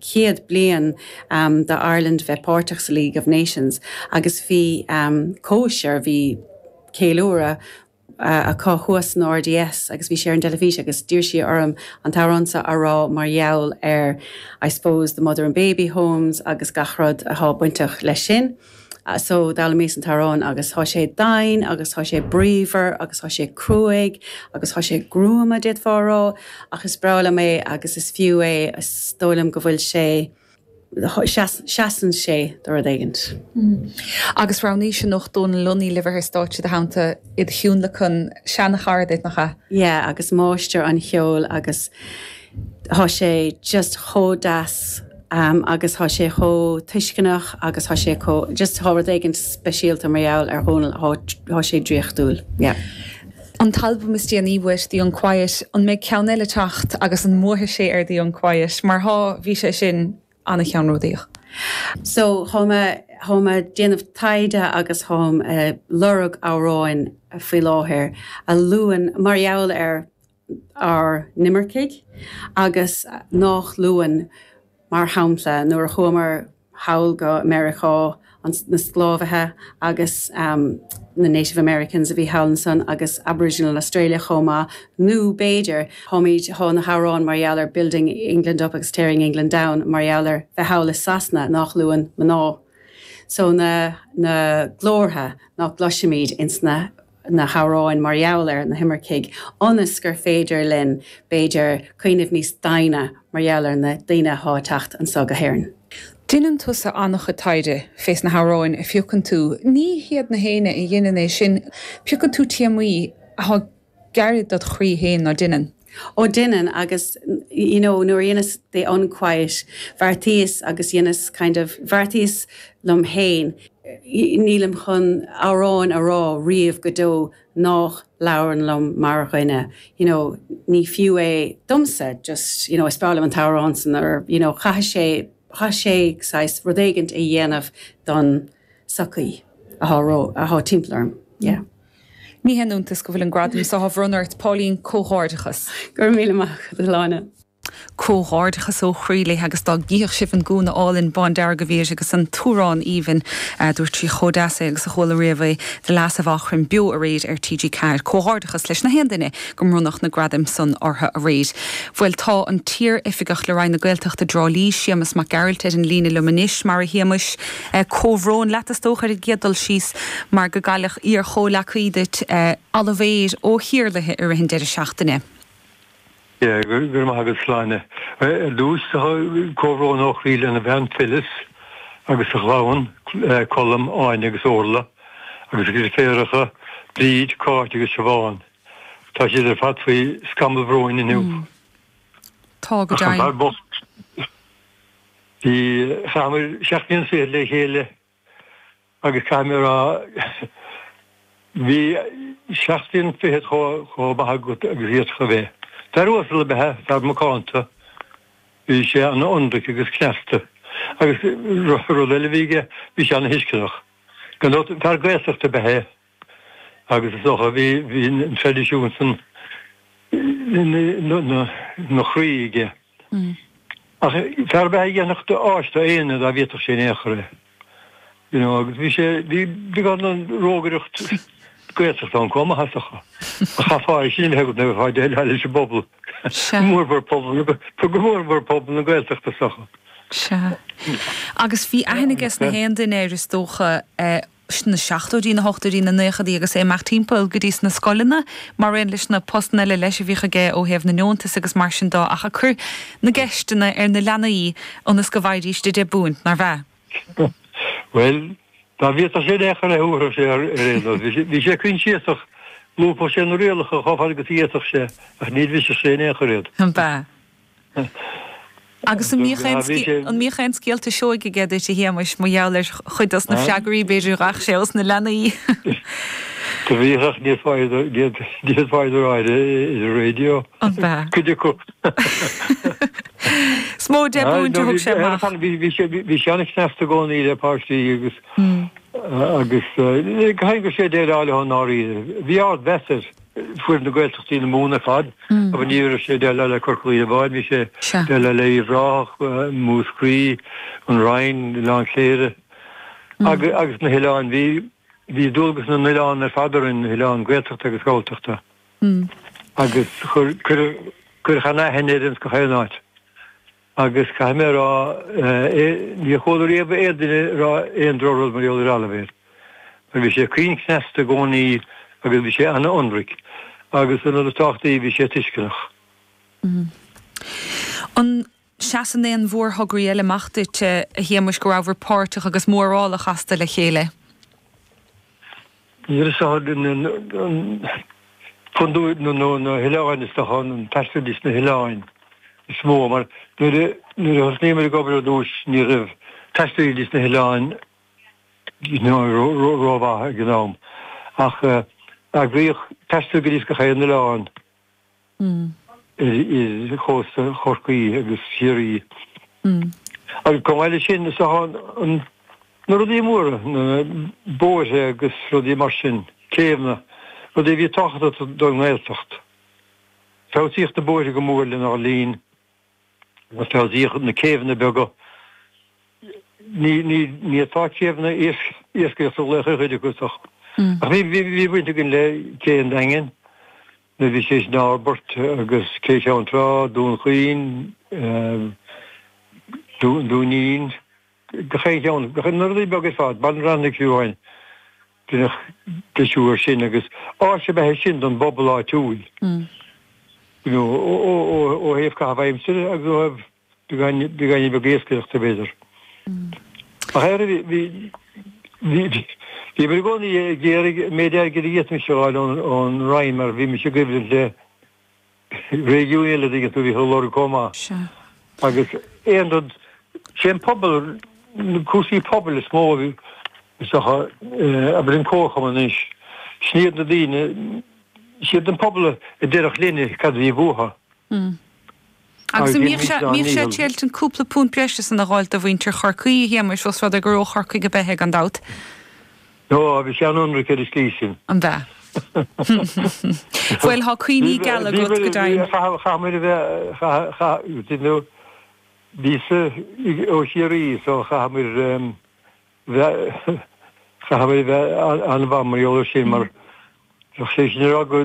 100 bliain do Ireland bheith páirteach sa League of Nations agus bhí cóisir, bhí ceiliúradh acu thuas san RDS agus bhí sé ar an dteilifís agus d'iarr sí orm an t-amhrán seo a rá mar gheall ar I suppose the mother and baby homes agus gach rud athá bainteach leis sin. So d'fhoghlaimíos an t-amhrán agus thá sé domhain agus thá sé bríomhar agus thá sé cruaidh agus thá sé gruama d'fhéadfá a rá ach is breá liom é agus is fiú é, is dóigh liom go bhfuil sé, seasann sé do rud éigint. Agus roghnaís anocht Dónal Lunny le bheith ar stáitse i do theannta id thionlacan, seana-chara duit, nach ea? Yeah, agus máistir an cheoil agus thá sé just chomh deas agus thá sé chomh tuisceanach agus thá sé chomh, just thá rud éigint speisialta mar gheall ar Dhónal, thá sé draíochtúil, yeah. An t-albam is déanaí uait, The Unquiet, an mbeidh ceann eile teacht agus an mbuafaidh sé ar The Unquiet? Mar thá, bhí sé sin an-cheannródaíoch. So, thá mé, thá mé déanamh taighde agus tháim ag lorg amhráin faoi láthair a luann, mar gheall ar ár n-imircigh agus nách luann, mar shampla, nuair a chuamar thall go Meiriceá, na sclábhaithe agus na Native Americans a bhí thall ansan agus Aboriginal Australia chomh maith, nó b'fhéidir, táimid, thá na hamhráin mar gheall ar Building England Up agus Tearing England Down mar gheall ar bheith thall i Sasana nách luann mná. So na, na glórtha ná gcloisimid ins na na hamhráin mar gheall ar na himircigh ionas gur féidir linn, b'fhéidir, cuimhneamh níos doimhne mar gheall ar na daoine athá ag teacht anso go hÉirinn. Deineann tusa an-chuid taighde fés na hamhráin a phiocann tú. Ní hiad na héinne a dheineann é sin. Piocann tú téamaí athá gairid dod chroí féin, ná deineann? Ó deineann agus you know nuair a dheineas The Unquiet bheartaíos agus dheineas kind of bheartaíos liom féin nílim chun amhráin a rá riamh go deo nách labhrann liom mar dhuine you know ní fiú é domsa just you know is breá liom an t-amhrán san or you know chaithfidh sé chaithfidh sé saghas rud éigint a dhéanamh don sochaí athá ró athá timpeall orm yeah. Ní haon iontas go bhfuil an gradam so á bhronnadh ort, Pauline, comhghairdeachas. Go raibh míle maith agat, a Shláine. Comhghairdeachas ó chroí léi agus dá gcífeadh sibh an gúna álainn bándearg a bhí uirthi agus an t-amhrán aoibhinn, dúirt sí chomh deas é agus a chuala riamh é, The Lass of Aughrim beo aréir ar TG4. Comhghairdeachas leis na haon duine go mbronnadh na gradaim san orthu aréir. Bhuel tá an t-iar-oifigeach le Roinn na Gaeltachta i dTrá Lí, Séamus Mac Gearailt ar an líne liom anois. Mar a Shéamuis, Comhbhrón leat is dócha ar an gcéad dul síos mar go gcailleadh iar-chomhleacaí duit, Oilibhéar Ó hIarlaithe i rith an deireadh seachtaine. Yeah, go raibh maith agat Sláine. Ar dtús, comhbhrón ó chroí lena bhean Phyllis agus a chlann, Colm, Áine agus Orla, agus a dheirféaracha, Bríd, Cáit agus Siobhán. Tá siad ar fad faoi scamall bhróin inniu. Tá, go Ach an deimhin. fear bocht. Bhí, chaitheamar seachtain is fichead le chéile agus caithfidh mé a rá, bhí seachtain fichead chomh maith agat agus a d'fhéadfadh a bheith. Fear uasal ab ea é, fear macánta, bhí sé an-ionraic agus cneasta agus rud eile a bhí aige, bhí sé an-thuisceanach. Gan dabht, fear Gaeltachta ab ea é agus is dócha bhí an traidisiún san ina chroí aige. Ach fear ab ea é a dhéanfadh áis do éinne dá bhféadfadh sé in aon chor é. You know, agus bhí sé, bhí beagán den rógaireacht Gaeltachta ann chomh maith is dócha. Ach chaithfeá é sin a bheith agat nuair a bheifeá ag déileáil leis an bpobal, go mórmhór pobal, go mórmhór pobal na Gaeltachta is dócha. Sea. Agus bhí aithne aige sna haon duine air is dócha, sna seachtóidí, na hochtóidí, na naochadaí agus é ag imeacht timpeall go dtí sna scoileanna mar aon leis na postanna eile leis a bhíodh aige ó thaobh na ndeontas agus mar sin de ach ag cur na gceisteanna ar na leanaí ionas go bhfaighidís deich bpúint, nár bh'ea? Bhuel, dá bhféadfadh sé in aon chor é thabharfadh sé ar aon nós. Bhí sé coinsiasach, lúbfadh sé na rialacha chomh fada agus a d'fhéadfadh sé ach ní bhrisfeadh sé in aon chor iad. An b'ea? Agus an mbíodh aon an mbíodh aon scéalta seoigh aige duit, a Shéamais, mar gheall ar chuid dos na freagraí, b'fhéidir, a gheibheadh sé ós na leanaí? Do bhíodh ach ní fhéadfá iad a rá ar an raidió. An b'ea? Cuid acu. Is mó deich bpúint a thug sé amach. Bhí sé bhí sé an-chneasta i gcónaí le páistí agus agus caithfidh go raibh sé ag déileáil leo i ndáiríre. Bhí ardmheas air. Fuair na Gaeltachtaí na Mumhan ar fad, agus ní raibh sé ag déileáil le Corca Dhuibhne amháin, bhí sé ag déileáil le Uíbh Ráthach, Múscraí, an Rinn, Oileán Chléire agus na hoileáin. Bhí bhí dualgas na n-oileán ar fad orainn, na hoileáin Gaeltachta agus Galltachta. Agus chuir cuireadh cuireadh an-aithne air ins gach aon áit. Agus caithfidh mé a rá, níor chuala riamh aon duine ag rá aon drochrud mar gheall ar Oilibhéar. Mar bhí sé caoin cneasta i gcónaí agus bhí sé an-ionraic. Agus an rud is tábhachtaí, bhí sé tuisceanach. An seasann aon mhórthograí eile amach duit, a Shéamuis, go rabhabhair páirteach agus mórálach astu le chéile? Níl a fhios agam fundú na hoileáin is dócha, an taisteal leis na hoileáin is mó mar nuair a nuair a thosnaíomar ag obair ar dtús ní raibh taisteal leis na hoileáin rómhaith ag an am ach eagraíodh taisteal go dtí gach aon oileán. ar chósta Chorcaí agus Chiarraí. Agus chomh maith leis sin, is dócha na rudaí móra, na bóithre agus rudaí mar sin, céibheanna, rudaí a bhí tábhachtach don nGaeltacht. Feabhsaíodh na bóithre go mór lenár linn agus feabhsaíodh na céibheanna beaga. Ní ní atá céibheanna iascaireachta a ghlaoch ar chuid acu is dócha. Ach bhí bhí baint againn le Cé an Daingin. Nuair a bhí sé sin á fhorbairt agus Cé Cheann Trá, Dún Chaoin, Dúinín, gach aon cheann, gach na rudaí beaga ar fad, Baile an Bhranaigh fiú amháin, deineadh deisiú air sin agus áis ab ea é sin don bpobal áitiúil, you know, ó thaobh caitheamh aimsire agus ó thaobh Beagáinín beag iascaireachta, b'fhéidir. Ach ar bhí bhíomar i gcónaí ag iarraidh an méid airgid a d'fhéadfaimis a fháil ón Roinn mar bhímis i gcoimhlint le réigiúin eile, tuigeann tú, a bhíodh á lorg chomh maith. Agus aon rud, sé an pobal, na cúrsaí pobail is mó a bhí, is dócha, abair an comharchumann anois, sin iad na daoine, siad an pobal a déarfadh linne cad a bhí uathu. Agus an mbíodh sé, mbíodh sé ag triailt an cúpla punt breise san a dh'fháilt do mhuintir Chorcaí, a Shéamais, ós rud é gur ó Chorcaigh ab ea é, gan dabht? Ó, bhí sé an-ionraic ar an slí sin. An b'ea? Bhuel, thá cuimhní geala agat, go deimhin. Chaith muid a bheith, chaith, chaith, you know, bhíos-sa ó Chiarraí so chaith muid bheith, chaith muid a bheith an-mhaith mar gheall air sin mar bheadh sé sin ag rá go,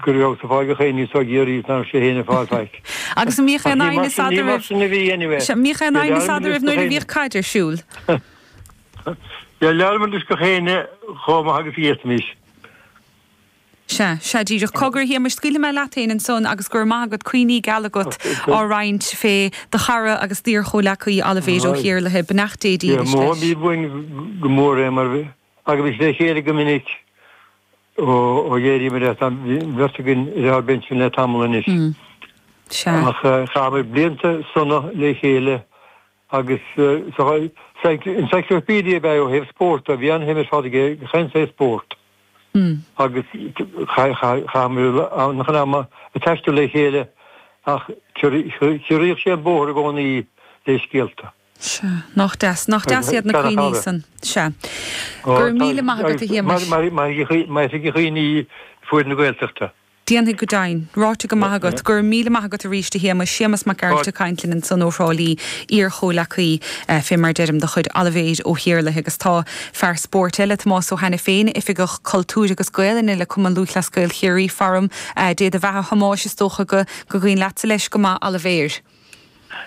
go raibh ag fáil gach aon ní ó Chiarraí is nach raibh sé féin ag fáil faic. Agus an mbíodh aon aighneas eadraibh? Ní mar sin a bhí anyway. Sea, mbíodh aon aighneas eadraibh nuair a bhíodh caid ar siúl? Dhéileálamar leis gach éinne chomh maith agus a d'fhéadfaimis. Sea, sea díreach. Cogar, a Shéamais, scaoilfidh mé leat féin ansan agus go raibh maith agat, cuimhní geala agat á roinnt fé do chara agus d'iar-chomhleacaí Oilibhéar Ó hIarlaithe. Beannacht Dé dílis leis. Mothaímid uainn go mór é mar agus bhí sé le chéile go minic. Ó d'éiríomar as, tá an bheirt againn ar ár bpension le tamall anois. Ach chaitheamar blianta sona le chéile agus encyclopedia ab ea é ó thaobh spóirt de, bhí an-shuim ar fad aige i chaon saghas spórt. Agus chaitheamar an-chuid ama ag taisteal le chéile ach chiorraíodh sé an bóthar i gcónaí le scéalta. Sea. Nach deas. Nach deas iad na cuimhní san. Sea. Go raibh míle maith agat, a Shéamais. Mairfidh a chuimhne i bhfoireann na Gaeltachta. Déanfaidh go deimhin. Ráite go maith agat. Go raibh míle maith agat arís, a Shéamais. Séamas Mac Gearailt ag caint linn ansan ó Thrá Lí, iar-chomhleacaí, fé mar deirim, de chuid Oilibhéir Ó hIarlaithe. Agus tá fear spóirt eile, Tomás Ó hAiniféin, Oifigeach Cultúir agus Gaelainne le Cumann Lúthchleas Gael Chiarraí, faram. Dé do bheatha, a Thomáis, is dócha go gcuimhin leatsa leis go maith, Oilibhéar.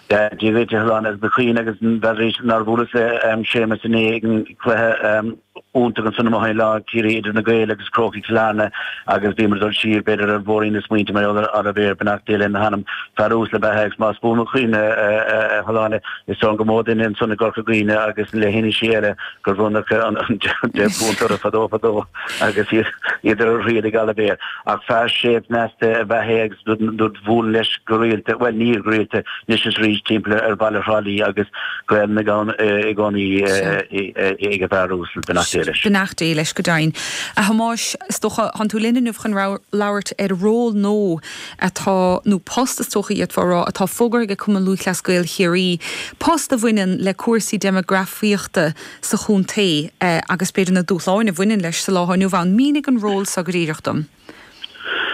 Dia duit, a Shláine, agus na cuimhní agus bhuel nár bhuaileas le Séamus inné ag an cluiche iontach ansan amuigh i Lá Ciarraí idir na Gaeil agus Crócaigh Chill Airne agus bhíomar ag dul siar b'fhéidir ar bhóithrín na smaointe mar gheall ar Oilibhéar, beannacht Dé lena hanam, fear uasal ab ea é agus más buan mo chuimhne a Shláine is dóigh gur mó duine ansan i gCorca Dhuibhne agus le hinisí eile gur bhronnadh an £10 orthu fadó fadó agus iad ar a thriail ag Oilibhéar. Ach fear séimh cneasta ab ea é agus nuair a bhuailinn leis go rialta, bhuel ní go rialta, anois is arís timpeall ar bhaile Thrá Lí agus Gaelainn ann i gcónaí ag an bhfear uasal. Beannacht Dé leis. Beannacht Dé leis go deimhin. A Thomáis, is dócha, thánn tú linn inniu chun labhairt ar ról nua atá, nó post is dócha d'fhéadfá a rá, atá fógartha ag Cumann Lúthchleas Gael Chiarraí, post a bhaineann le cúrsaí déimeagrafaíochta sa chontae agus b'fhéidir na dúshláin a bhaineann leis sa lá atá inniu ann. Mínigh an ról seo go díreach dom.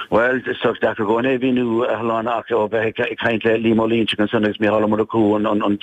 Bhuel, is deacair go é a mhíniú, a Shláine, ach ó bheith ag caint le Liam Ó Loingsigh ansan agus Mícheál Ó Murchú, an.